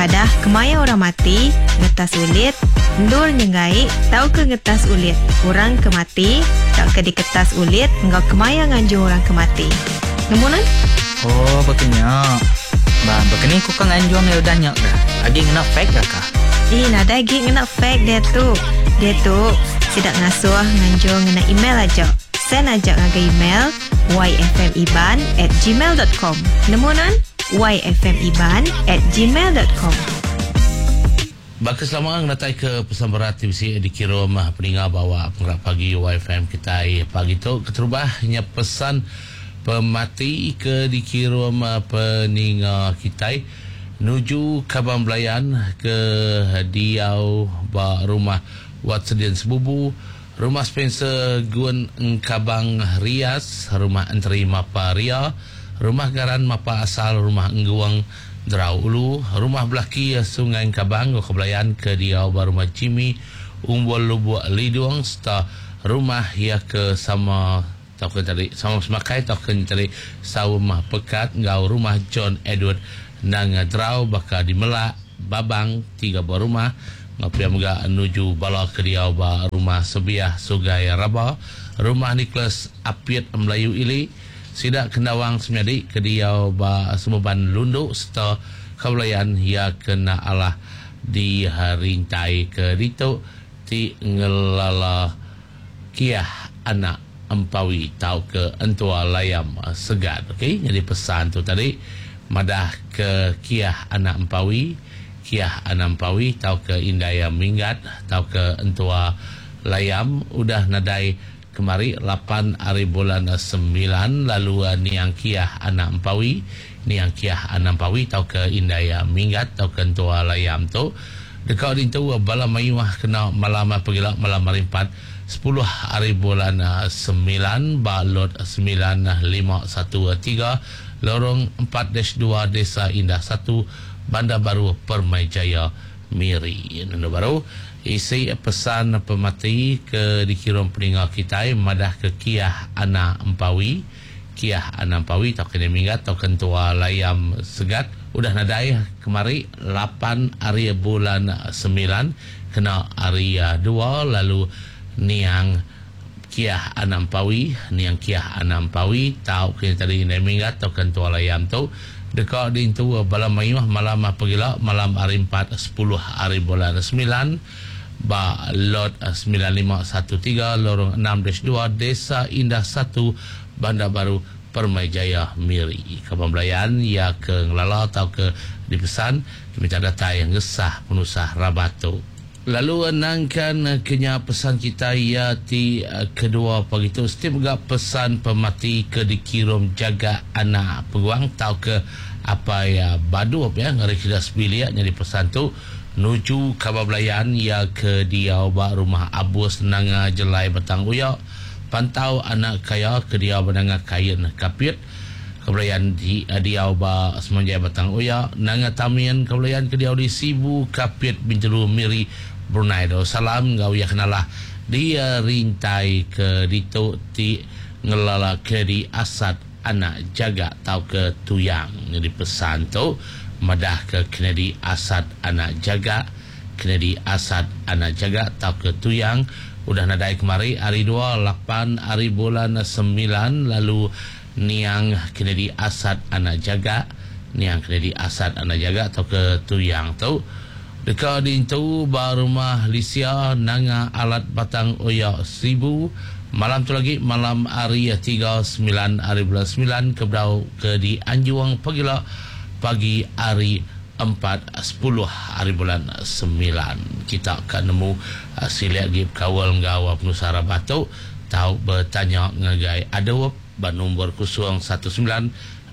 Padah kemaya orang mati, ngetas ulit, endur nyenggai tauka ngetas ulit orang ke mati tauka diketas ulit enggau kemaya nganjung orang ke mati. Nemu nuan? Oh, baka nya. Ba, baka ni ku ka nganjung iya udah nya ga? Agi ngena fax ga kah? Ih, nadai agi ngena fax diatu. Diatu, sida ngasuh nganjung ngena email aja. Send aja ngagai email yfmiban at gmail dot com. Nemu nuan? yfmiban at gmail dot com. Baka selama ngenatai ke pesan berat ti bisi dikirum peninga ba awak pengerak pagi YFM kitai pagi tu. Keterubah nya pesan pemati ke dikirum peninga kitai nuju kaban belayan ke diau ba rumah Wat Sedin Sebubu, Rumah Spencer Gun Engkabang Rias, Rumah Enteri Mapa Ria, Rumah Garan Mapa Asal, Rumah Engguang Derau Ulu, Rumah Belaki Sungai Engkabang enggau Kebelayan ke diau ba Rumah Jimmy Umbol Lubuk Lidung sereta rumah iya ke sama tauka tadi sama semakai tauka nya tadi saum pekat enggau Rumah John Edward Nanga Drau baka di Melak, Babang, tiga buah rumah enggau pia mega nuju bala ke diau ba Rumah Sebiah Sugai Raba, Rumah Nicholas Apit Melayu Ili, sida Kendawang Semenyadi ke diau ba Semeban Lundu sereta Kabelayan iya ke enda alah dirintai ke ditu ti ngelala Kiah anak Empawi tauka entua Layam Segat. Ok nyadi pesan tu tadi madah ke Kiah anak Empawi, Kiah anak Empawi tauka indai iya Minggat tauka entua Layam udah nadai kemari lapan ari bulan semilan lalu niang Kiah anak Empawi, niang Kiah anak Empawi tauka indai iya Minggat tauka entua Layam tu deka dintu bala mayuh kena malam pegila malam hari empat sepuluh ari bulan semilan ba Lot 9513 Lorong empat dash dua Desa Indah satu Bandar Baru Permai Jaya Miri. Nendu baru isi pesan pemati ke dikirum peninga kitai madah ke Kiah Anak Empawi Kiah Anak Empawi tauka Indai Minggat tauka Entua Layam Segat udah nadai kemari lapan ari bulan semilan Kena hari dua lalu niang Kiah Anak Empawi, niang Kiah Anak Empawi tau ke nya tadi indai Minggat tauka entua Layam tu deka diintu bala mayuh malam pegila malam hari empat sepuluh hari bulan semilan ba Lot 9513 Lorong enam dash dua Desa Indah satu Bandar Baru Permai Jaya Miri. Kaban belayan iya ke ngelala tauka dipesan Minta datai ngesah penusah rabat tu. Lalu nangkan ke nya pesan kitai iya ti kedua pagi tu siti mega pesan pemati ke dikirum jaga anak peguang tauka apai Badup ya ngari sida sebilik nyadi pesan tu nuju kaban belayan iya ke diau ba rumah Abus Nanga Jelai Batang Uya Pantau anak kaya ke diau ba Nanga Kain Kapit. Kebelayan ti diau ba Semanjai Batang Oya, Nanga Tamin, Kebelayan ke diau di Sibu, Kapit, Bintulu, Miri, Brunei Darussalam enggau iya kenalah di rintai ke ditu ti ngelala Kennedy Asat anak Jaga tauka Tuyang. Nyadi pesan tu madahka Kennedy Asat anak Jaga, Kennedy Asat anak Jaga tauka Tuyang udah nadai kemari hari dua lapan ari bulan semilan lalu niang Kennedy Asat anak Jaga, niang Kennedy Asat anak Jaga tauka Tuyang tu deka diintu ba Rumah Lisia Nanga Alat Batang Oya Sibu malam tu lagi malam hari tiga semilan ari bulan semilan ke bedau ke dianjung pagila pagi hari empat sepuluh ari bulan semilan. Kita ka nemu silik agi bekaul enggau penusah rabat tu tau betanya ngagai Adup ba nombor 019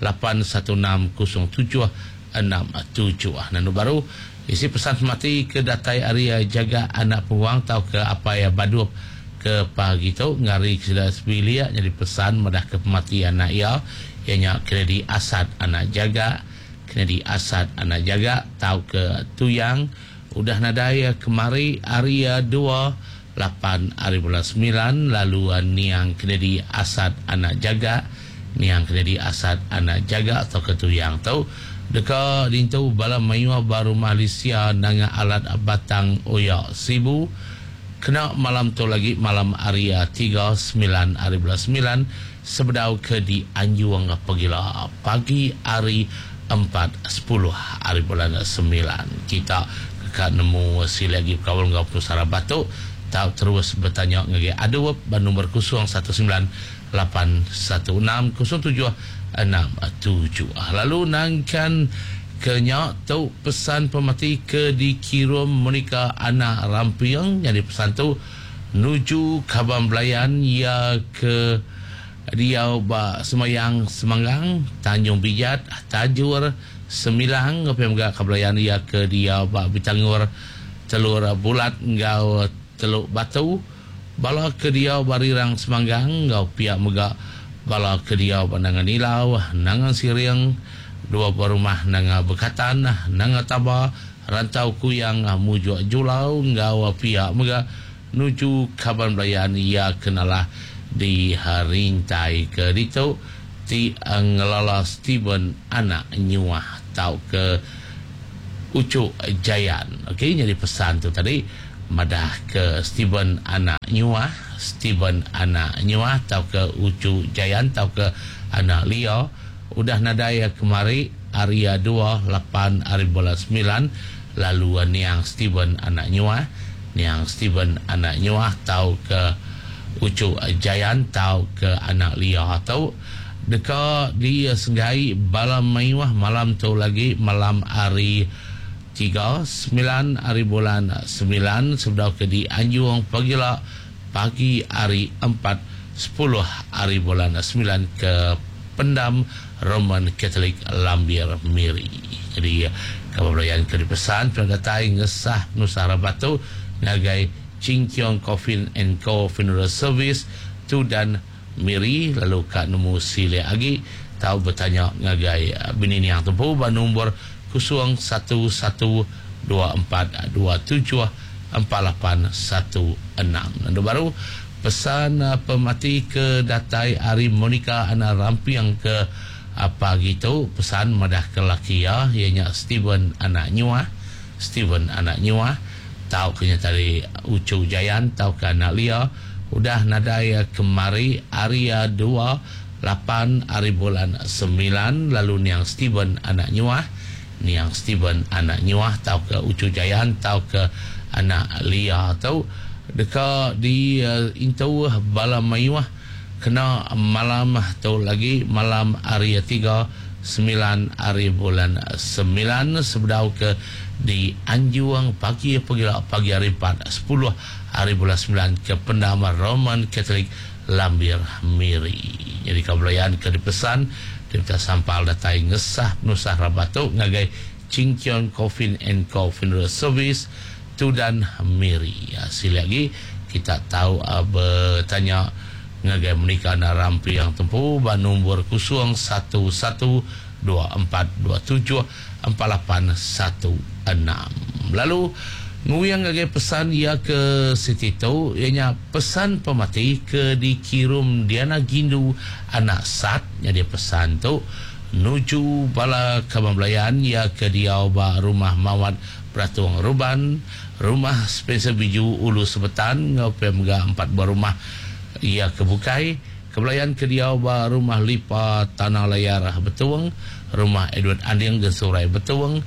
816 0767. Nandu baru isi pesan semati ke datai ari jaga anak penguang tauka apai Badup ke pagi tu ngari ke sida sebilik nyadi pesan madah ke pemati anak iya, iya nya Kennedy Asat anak Jaga. Kennedy Asat anak Jaga tauka Tuyang udah nadai kemari hari dua lapan ari bulan semilan lalu niang Kennedy Asat anak Jaga niang Kennedy Asat anak Jaga tauka Tuyang tu Deka dintu bala mayuh ba Rumah Lisia nanga alat Batang Oya Sibu kena malam tu lagi malam hari tiga semilan hari bulan semilan sebedau ke dianjung pegila pagi hari empat sepuluh hari bulan semilan. Kita ka nemu silik agi bekaul enggau penusah rabat tu tau terus betanya ngagai Adup ba nombor kosong satu semilan lapan satu enam kosong tujuh enam tujuh. Lalu nangkan ke nya tu pesan pemati ke dikirum Monica Anak Ramping nyadi pesan tu nuju kaban belayan iya ke diau ba Semayang Semanggang, Tanjung Bijat, Tajur, Semilang enggau pia mega kaban belayan iya ke diau ba Bitangur, Telur Bulat enggau Teluk Batu. Bala ke diau ba Rirang Semanggang enggau pia mega bala ke diau ba Nanga Nilau, Nanga Siring, dua buah rumah Nanga Bekatan, Nanga Taba, Rantau Kuyang, Mujuk Julau enggau pia mega nuju kaban belayan iya ke nalah di rintai ke ditu ti ngelala Steven anak Nyuah tauka Uchu Jayan. Okey nyadi pesan tu tadi madah ke Steven anak Nyuah, Steven anak Nyuah tauka Uchu Jayan tauka anak Lia udah nadai kemari hari dua lapan hari bulan semilan lalu niang Steven anak Nyuah, niang Steven anak Nyuah tauka Uchu Jayan tauka anak Lia tu deka disenggai bala mayuh malam tu lagi malam hari tiga semilan hari bulan semilan sebedau ke dianjung pagila pagi hari empat sepuluh hari bulan semilan ke Pendam Roman Catholic Lambir Miri. Jadi kaban belayan ke dipesan pernah datai ngesah penusah rabat tu ngagai Ching Keong Coffin and Co Funeral Service Tudan Miri lalu ka nemu silik agi tau betanya ngagai bini niang tempu ba nombor kusung satu satu dua empat dua tujuh empat lapan satu enam. Lalu baru pesan pemati ke datai ari Monica Anak Ramping ke pagi tu pesan madah ke laki iya iya nya Steven Anak Nyuah Steven Anak Nyuah tau ke nya tadi Uchu Jayan tauka Anak Lia udah nadai kemari hari dua lapan hari bulan semilan lalu niang Steven Anak Nyuah niang Steven Anak Nyuah tauka Uchu Jayan tauka Anak Lia tu deka di intu bala mayuh kena malam tu lagi malam hari tiga semilan hari bulan semilan sebedau ke di anjung pagi pegila pagi hari empat sepuluh hari bulan semilan ke Pendam Roman Catholic Lambir Miri. Nyadi ka belayan ke dipesan Dipta Sampal datai ngesah penusah rabat tu ngagai Ching Keong Coffin and Co Funeral Service Tudan Miri. Silik agi kita tau betanya ngagai Monica Anak Ramping tempu ba nombor kosong satu satu dua empat dua tujuh empat lapan satu enam. Lalu nguyang ngagai pesan iya ke siti tu iya nya pesan pemati ke dikirum Diana Gindu anak Sat nyadi pesan tu nuju bala kaban belayan iya ke diau ba Rumah Mawat Beratung Ruban, Rumah Spencer Biju Ulu Sebetan enggau pia mega empat buah rumah iya ke bukai. Kebelayan ke diau ba Rumah Lipa Tanah Layar Betung, Rumah Edward Anding Gensurai Betung,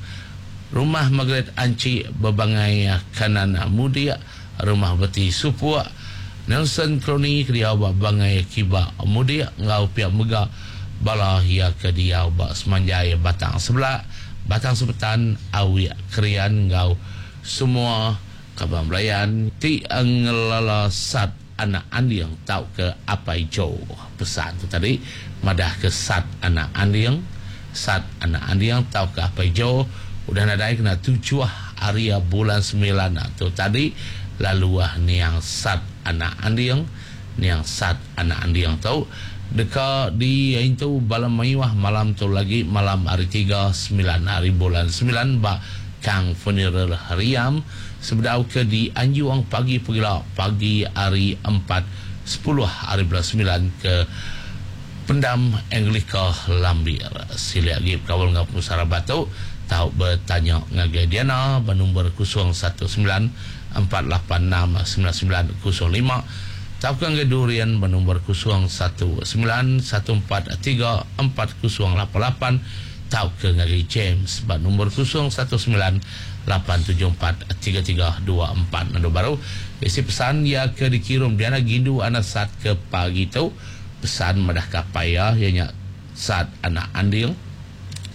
Rumah Margaret Anchi Bebangai Kanan Mudik, Rumah Beti Supuk, Nelson Kroni ke diau ba Bangai Kiba Mudik enggau pia mega bala iya ke diau ba Semanjai Batang Sebelak, Batang Sebetan, Awik Krian enggau semua kaban belayan ti ngelala Sat Anak Anding tauka Apai Joe. Pesan tu tadi madahka Sat Anak Anding, Sat Anak Anding tauka Apai Joe udah nadai kena tujuh hari bulan semilan tu tadi lalu niang Sat Anak Anding, niang Sat Anak Anding tu deka diintu bala mayuh malam tu lagi malam hari tiga semilan hari bulan semilan ba Kang Funeral Riam sebedau ke dianjung pagi pegila pagi hari empat sepuluh hari bulan semilan ke. Pendam Anglika Lambir. Silik agi bekaul enggau penusah rabat tu, tau betanya ngagai Diana ba nombor 019 486 9905 tauka ngagai Durian ba nombor 019 143 4088 tauka ngagai James ba nombor 019 874 3324. Lalu baru isi pesan ya ke dikirim Diana Gindu anak Sat ke pagi tu, pesan madah kapai ya ianya Sat anak Anding.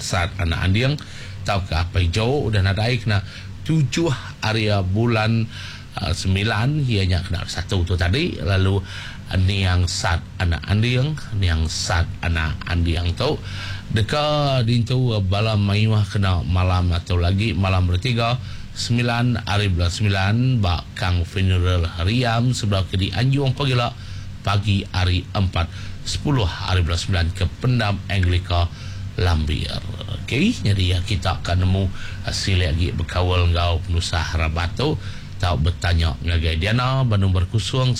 Sat anak Anding tauka Apai Jo udah nadai kena 7 hari bulan 9 ianya kena 1 tu tadi. Lalu niang Sat anak Anding, niang Sat anak Anding tu deka dintu bala mayuh kena malam atau lagi malam bertiga 9 hari bulan 9 ba Kang Funeral Riam sebelah ke di Anjung pagila pagi hari 4.10 hari bulan 9 ke Pendam Anglika Lambir. Okey, jadi ya, kita akan nemu silik lagi berkawal ngau penusah rabat tu. Tau bertanya ngagai Diana ba nombor 019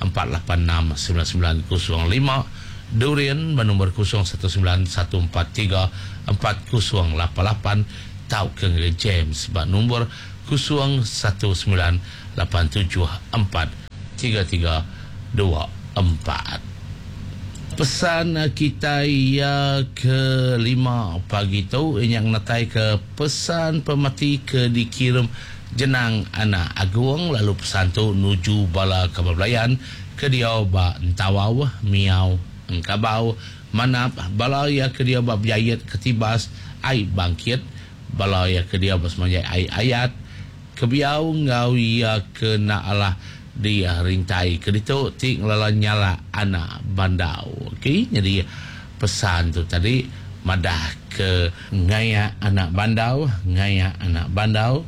486 9905, Durian ba nombor 019 143 4088 tau ke ngagai James ba nombor 019 874 3324. Pesan kita ya ke-5 pagi tu yang natai ke pesan pemati ke dikirim Jenang Anak Agung, lalu pesan tu nuju bala kebelayan ke dia ba Entawau, Miau, Engkabau, Manap, bala ya ke dia ba Biayet Ketibas, Ai Bangkit, bala ya ke dia ba Semanjai Ai Ayat, kebiau ngau ya ke nak Allah di rintai ke ditu ti ngelala nyala anak bandau. Okey, jadi pesan tu tadi madah ke ngaya anak bandau, ngaya anak bandau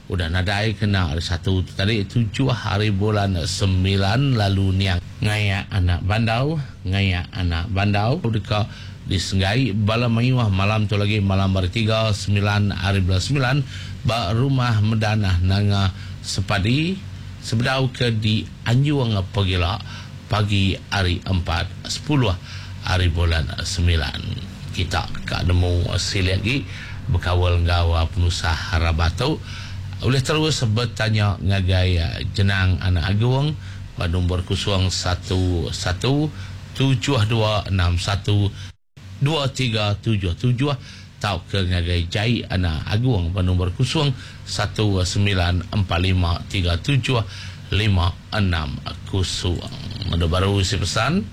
udah nadai kena hari 1 tu tadi 7 hari bulan 9. Lalu niang ngaya anak bandau, ngaya anak bandau deka disenggai bala mayuh malam tu lagi malam hari 3 9 hari bulan 9 ba rumah Medanah Nanga Sepadi sebedau ke di Anjung Pegila pagi hari 4.10 hari bulan 9. Kita ka nemu silik lagi berkawal ngau penusah rabatu. Boleh terus bertanya ngagai Jenang Anak Agung pada nombor 011 7261 2377 tau ke ngagai Jai Anak Agung pada nombor 019 4537 560. Ada baru isi pesan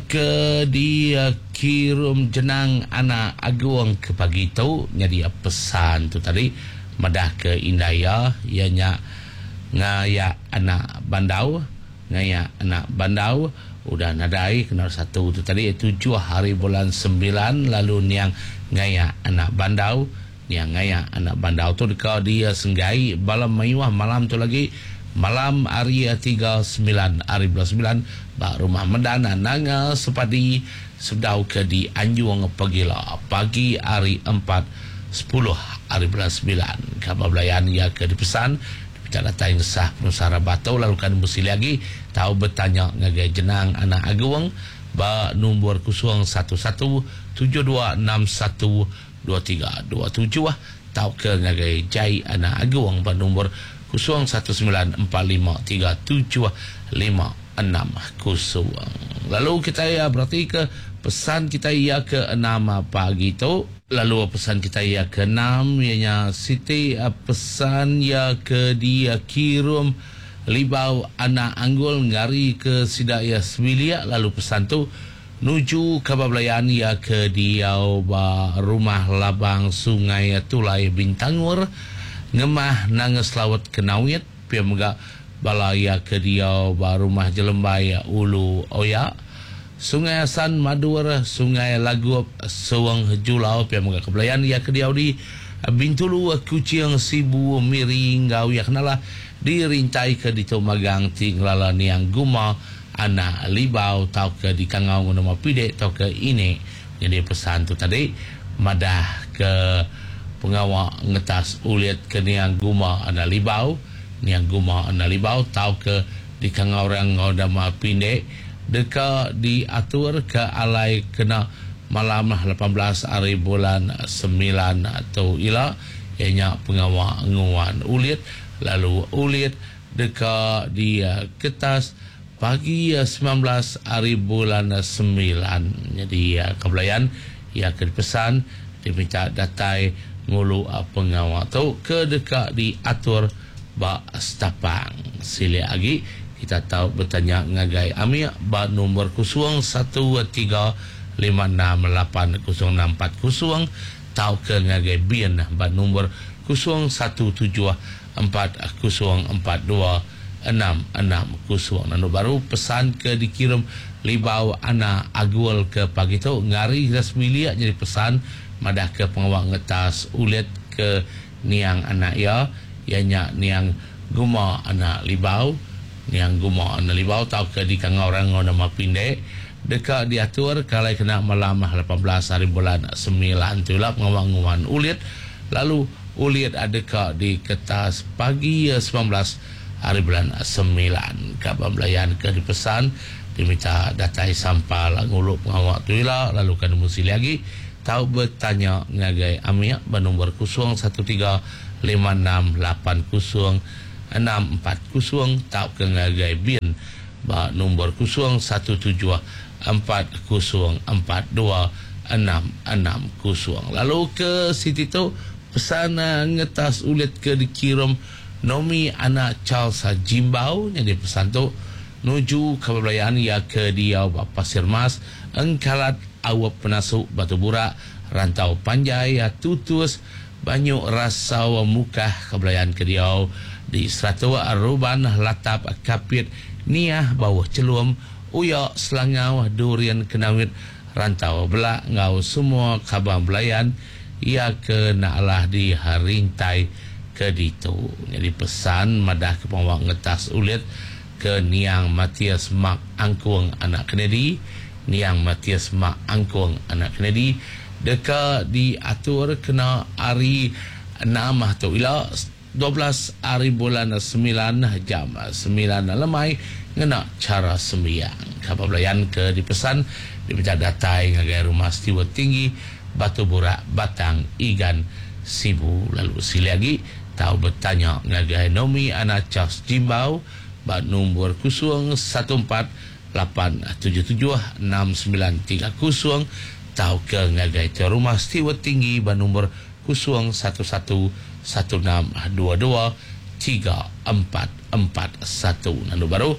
ke dikirim Jenang Anak Agung ke pagi tu. Jadi pesan tu tadi madah ke Indaya ianya ngaya anak bandau, ngaya anak bandau udah nadai kena 1 tu tadi 7 hari bulan 9. Lalu niang ngaya anak bandau, niang ngaya anak bandau tu deka dia senggai bala mayuh malam tu lagi malam hari 3 9 hari bulan 9 ba rumah Medana Nanga Sepadi sedau ke di Anjung Pegila pagi hari 4.10 hari bulan 9. Khabar belayan ia ke dipesan tak datang sah penusara batu. Lalu kan mesti lagi tahu bertanya ngagai Jenang Anak Agung ba nombor 011 7261 2327 tau ke ngagai Jai Anak Agung ba nombor 019 4537 560. Lalu kita ya berarti ke pesan kita ya ke 6 pagi tu. Lalu pesan kita ya ke 6 ianya Siti pesan ya ke dia kirim Libau Anak Anggul ngari ke sidak ya semilia. Lalu pesan tu nuju khabar belayan ya ke dia ba rumah Labang Sungai Tulai Bintangur ngemah Nanges Lawat Kenawit pia mega bala ya ke dia ba rumah Jelembai Ulu Oya Sungai Asan Madur Sungai Lagup Suang Julau pia mega kebelayan ya ke dia di Bintulu Kuching Sibu Miri ngau ya kenalah dirintai ke di Magang ti ngelala niang Guma Anak Libau tau ke di Kangau nama Pidek tau ke ini. Jadi pesan tu tadi madah ke pengawak ngetas ulit ke niang Guma Anak Libau, niang Guma Anak Libau tau ke di Kangau orang ngau nama Pindek. deka diatur ke alai kena malam 18 ari bulan semilan tu ila iya nya pengawa nguan ulit lalu ulit deka diketas pagi 19 ari bulan semilan. Nyadi kebelayan iya ke dipesan diminta datai ngulu pengawa tu ke deka diatur ba Stapang. Silik agi kita tau betanya ngagai Amik ba nombor 013 568 0640 tauka ngagai Bin ba nombor 017 4042 660. Lalu baru pesan ke dikirim Libau Ana Agul ke pagi tu ngari kita sebilik jadi pesan madah ke pengawa ngetas ulit ke niang anak iya, iya nya niang Guma anak Libau. Niang Guma anak Libau tauka dikangau orang ngau nama Pindek deka diatur kalai kena malam 18 hari bulan 9 tu ila pengawa nguan ulit lalu ulit deka diketas pagi 19 hari bulan 9. Kaban belayan ke dipesan diminta datai sampal ngulu pengawa tu ila lalu kan nemu silik agi tau bertanya ngagai Amik ba nombor 013 568 0640 tauka ngagai Bin ba nombor 017 4042 660. Lalu ke siti tu pesan ngetas ulit ke dikirim Nomi anak Charles Jimbau. Jadi pesan tu nuju kebelayaan ia ke diau ba Pasir Mas, Engkalat, Awap Penasuk, Batu Burak, Rantau Panjai, Tutus, Banyu Rasau Mukah, kebelayaan ke diau di Seratuk, Ruban, Latap, Kapit, Niah, Bawah Celum, Uya, Selangau, Durian, Kenawit, Rantau Belak, ngau semua kabang belayan ia ke nak alah di rintai ke ditu. Jadi pesan madah ke pengawak ngetas ulit ke niang Matias Mark Angkung anak Kennedy, niang Matias Mark Angkung anak Kennedy deka diatur kena hari 6 tu ila 12 hari bulan 9 jam 9 lemai ngena cara sembiang. Kapal belayan ke dipesan diminta datai ngagai rumah Stewart Tinggi Batu Burak Batang Igan Sibu. Lalu sili lagi tau bertanya ngagai Nomi anak Charles Jimbau ba nombor 014 877 6930 tau ke ngagai ke rumah Stewart Tinggi ba nombor 011 1622 3441. Lalu baru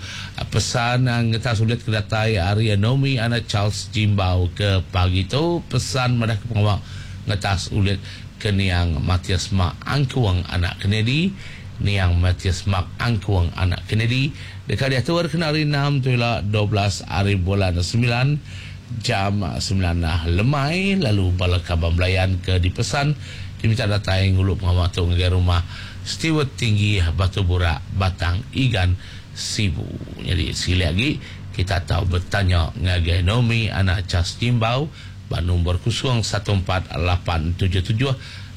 pesan ngetas ulit ke datai hari Nomi anak Charles Jimbau ke pagi tu pesan madah ke pengawak ngetas ulit ke niang Matias Mark Angkuang anak Kennedy, niang Matias Mark Angkuang anak Kennedy dekat diatur kena hari 6 tu ila 12 hari bulan 9 jam 9 lemai. Lalu bala kaban belayan ke dipesan diminta datai ngulu pengawak tu ngagai rumah Stewart Tinggi Batu Burak Batang Igan Sibu. Jadi sekali lagi kita tahu bertanya ngagai Nomi anak Charles Jimbau ba nombor 014 877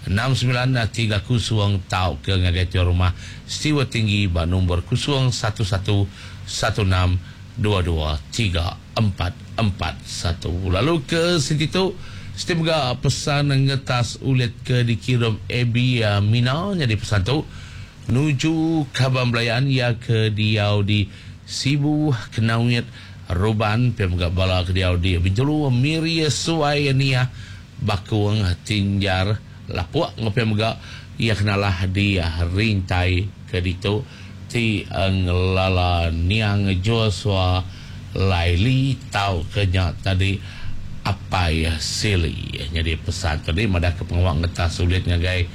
6930 tau ke ngagai tiap rumah Stewart Tinggi ba nombor 011 1622 3441. Lalu ke situ tu setiap juga pesan ngetas ulit ke dikirim Abi Mina. Jadi pesan tu nuju kaban belayan ya ke diau di Sibu, Kenawit, Ruban, pia mega bala ke diau di Bintulu, Miri, Suai, Nia, Bakung, Tinjar, Lapuk, ngopia mega ia kenalah di Rintai ke ditu ti ngelala niang Joshua Laili tau kenya tadi Apai Sili. Jadi pesan tadi madah ke pengawak ngetas sulit ngagai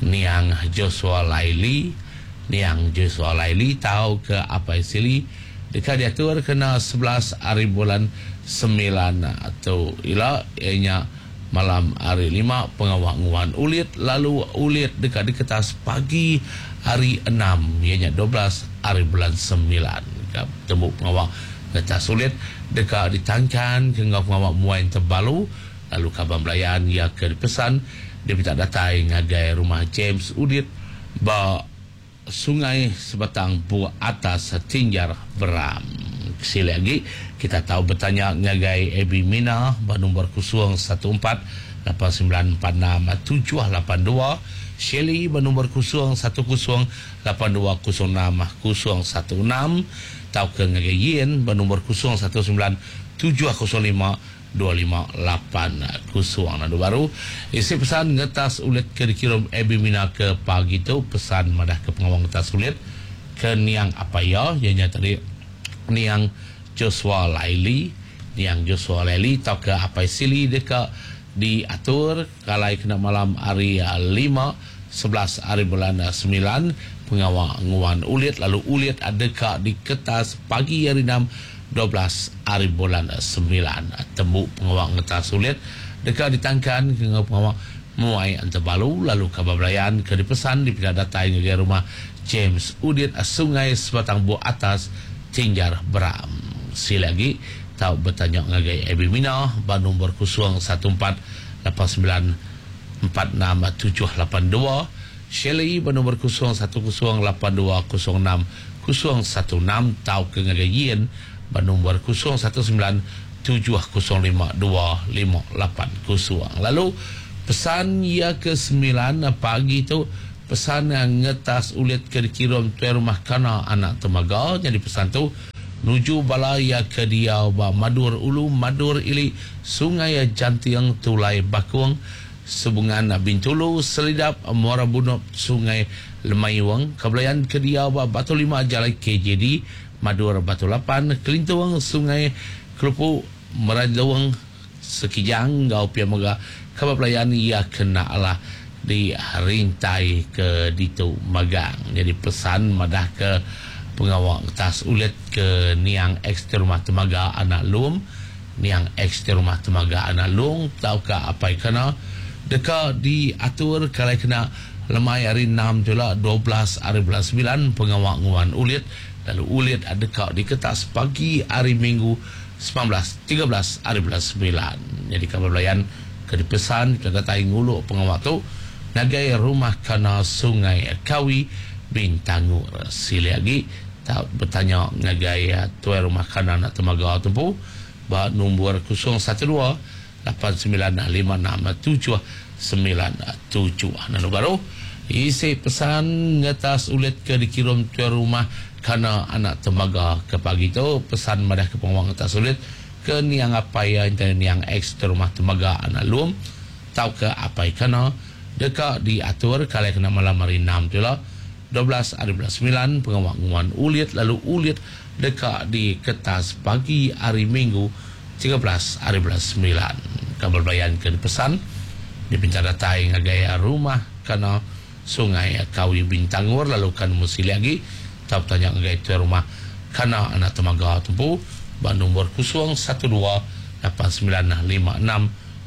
niang Joshua Laili, niang Joshua Laili tau ke Apai Sili dekat diatur kena 11 hari bulan 9 atau ila ianya malam hari 5 pengawak nguan ulit lalu ulit dekat diketas pagi hari 6 ianya 12 hari bulan 9. Temu pengawak ngetas ulit dekat ditangkan ke ngau pengawak muain terbalu lalu kaban belayan ia ke dipesan dia minta datai ngagai rumah James Udit ba Sungai Sebatang Buah Atas Tinjar Beram. Sila agi kita tau betanya ngagai Abby Mina ba nombor 014 8946 782, Shelley ba nombor 010 8206 016 tauka ngagai Yin ba nombor 019 705 2580. Lalu baru isi pesan ngetas ulit ke dikirum Abby Mina ke pagi tu, pesan madah ke pengawa ngetas ulit ke niang apai iya, iya nya tadi niang Joshua Laili, niang Joshua Laili tauka apai Sili deka diatur kalai kena malam hari lima 11 hari bulan 9 pengawa nguan ulit lalu ulit deka diketas pagi hari 6 12 hari bulan 9. Tembu pengawa ngetas ulit deka ditangkan ke enggau pengawa muai entebalu lalu kaban belayan ke dipesan dipinta datai ngagai rumah James Udit Sungai Sebatang Buk Atas Tinjar Beram. Sila agi tau betanya ngagai Abby Mina ba nombor 014 89 46 782, Shelley ba nombor 010 82 06 016 tauka ngagai Yin ba nombor 019 705 2580. Lalu pesan iya ke 9 pagi tu, pesan ngetas ulit ke dikirum tuai rumah Kana anak Temaga. Nyadi pesan tu nuju bala iya ke diau ba Madur Ulu, Madur Ili, Sungai Janting, Tulai Bakung, Sebungan Bintulu, Selidap, Muara Bunop, Sungai Lemayung, Kebelayan ke diau ba Batu 5 Jalai KJD, Madur Batu 8, Kelintung, Sungai Kelupu, Meradong, Sekijang enggau pia mega kaban pelayan iya kena alah di rintai ke ditu magang. Nyadi pesan madah ke pengawa ngetas ulit ke niang ex ti rumah Temaga anak Lum, niang ex ti rumah Temaga anak Long tauka apai kana deka diatur kalai kena lemai hari 6 tu ila 12 hari bulan 9 pengawa nguan ulit lalu ulit deka diketas pagi hari Minggu 19, 13 hari bulan 9. Nyadi kaban belayan ke dipesan ke datai ngulu pengawa tu ngagai rumah Kana Sungai Kawi Bintangur. Sili agi tau betanya ngagai tuai rumah Kana anak Temaga tu empu ba nombor 012 8956 797. Lalu baru isi pesan ngetas ulit ke dikirum tuai rumah Kana anak Temaga ke pagi tu, pesan madah ke pengawa ngetas ulit ke niang apai iya enti niang ex tuai rumah Temaga anak Lum tauka apai Kana deka diatur kalai kena malam hari 6 tu ila 12 hari bulan 9 pengawa nguan ulit lalu ulit deka diketas pagi hari Minggu 13 hari bulan 9. Kaban belayan ke dipesan dipinta datai ngagai rumah Kana Sungai Kawi Bintangur lalu kan nemu silik agi tau betanya ngagai tuai rumah Kana anak Temaga tu empu ba nombor 012 8956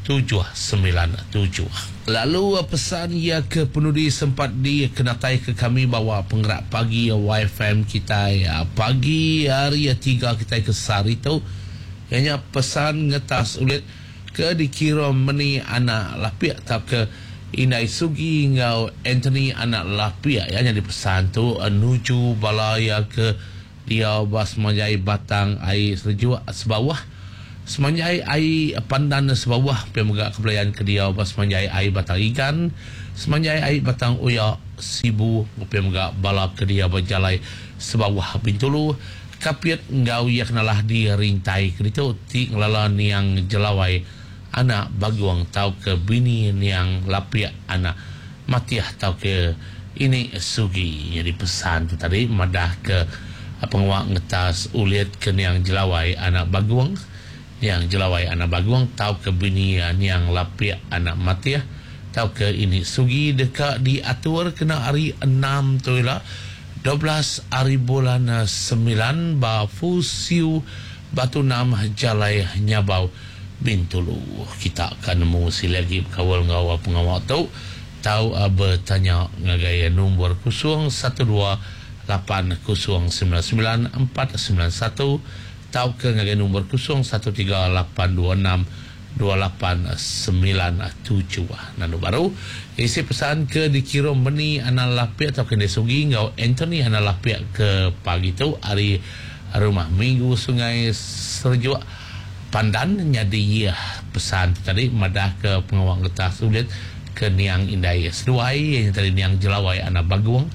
797. Lalu pesan iya ke penudi sempat dikenatai ke kami bawa pengerak pagi YFM kitai pagi hari 3 kitai ke sehari tu iya nya pesan ngetas ulit ke dikirum meni anak Lapik tauka Indai Sugi enggau Anthony anak Lapik iya nyadi pesan tu nuju bala iya ke diau ba semanjai Batang Ai Serejuk Sebauh, semanjai Ai Pandan Sebauh pia mega ke belayan ke diau ba semanjai Ai Batang Igan, semanjai Ai Batang Oya Sibu pia mega bala ke diau ba Jalai Sebauh Bintulu, Kapit enggau iya kenalah di rintai ke ditu ti ngelala niang Jelawai anak Bagong tauka bini niang Lapik anak Matih tauka ini Sugi. Nyadi pesan tu tadi madah ke pengawa ngetas ulit ke niang Jelawai anak Bagong, niang Jelawai anak Bagong tauka bini niang Lapik anak Matih tauka ini Sugi deka diatur kena hari 6 tu ila 12 hari bulan 9 ba Fusiu Batu 6 Jalai Nyabau Bintulu. Kita akan nemu sili agi bekaul enggau pengawa tu tau betanya ngagai nombor 012 8099 491 tauka ngagai nombor 013 826 2897. Lalu baru isi pesan ke dikirum Meni anak Lapik atau Kende Sugi enggau Anthony anak Lapik ke pagi tu hari Rumah Minggu Sungai Serejuk Pandan nyadi pesan tu tadi madahka pengawa ngetas ulit ke niang indai seduai iya nya tadi niang Jelawai anak Bagong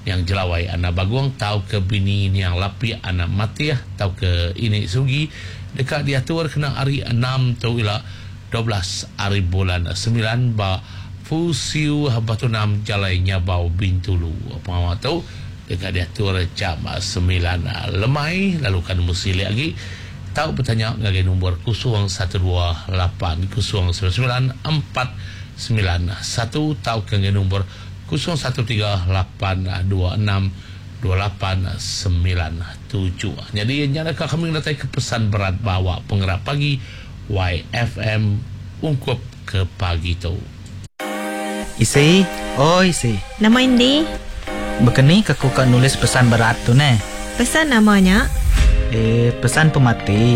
niang Jelawai anak Bagong tauka bini niang Lapik anak Matih tauka ini Sugi deka diatur kena hari enam tu ila 12 ari bulan semilan ba Fusiu Batu Enam Jalai Nyabau Bintulu. Pengawa tu deka diatur jam semilan lemai lalu ka nemu silik agi tau betanya ngagai nombor 012 8 0 99 4 9 1 tauka ngagai nombor 013 8 2 6 28 9 7. Nyadi nya deka kami ngenataika pesan berat ba awak pengerap pagi YFM ungkup ke pagi tu. Isi, oi isi. Nama indi? Bekeni ke ku ka nulis pesan berat tu neh? Pesan nama nya? Eh, pesan pemati.